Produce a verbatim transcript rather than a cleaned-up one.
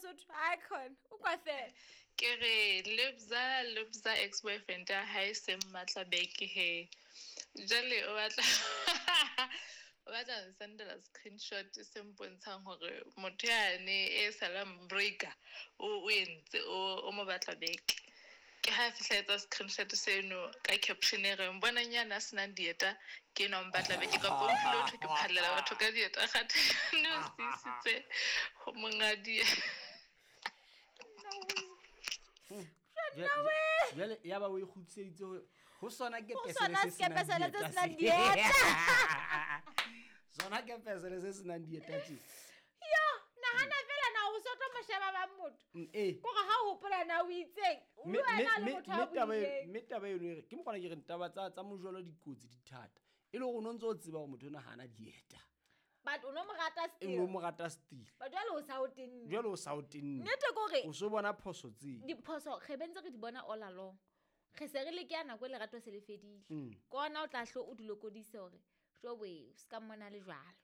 Mosotho icon o kwa fela. Ke re Lebza Lebza ex boyfriend ya hae se mmatla back he. Jwale o batla o batla ho sendela screenshot se mpontshang hore motho yane e salang breaker o o entse o o mo batla back. Ke ha fihla etsa screenshot seno ka caption e reng bonang yana a senang dieta ke enwa o mpatla back kapa o tlile ho thwe ke phallela batho ka dieta kgathe ne o se isitse ho monga dieta. Jwale ya ba o e kgutliseditse ho ho sona ke Ho pesele sona se senang sekepesele se dieta senang se. dieta. Sona ke pesele se senang dieta tje. Yo, nahana fela na o so tlo mo sheba ba motho. Mm, eh. Kore ha o hopola na o itseng, o Mme- bua mme- na le mme- motho a mme taba e- buileng. mme taba eno e re ke mokgona ke reng taba tsa tsa mojolo dikotsi di thata e le gore o no ntse o tseba gore motho ena ha ana dieta But o no mo rata e still. no mo rata still But jwale o sa o tenne. jwale o sa o tenne Nnete ke hore o so bona phoso tse diphoso re bentse re di bona all along. Re se re le ke ya nako e lerato se le fedile. Mm. Ke ona o tla hlo o di lokodise hore jo we o ska mmona le jwalo.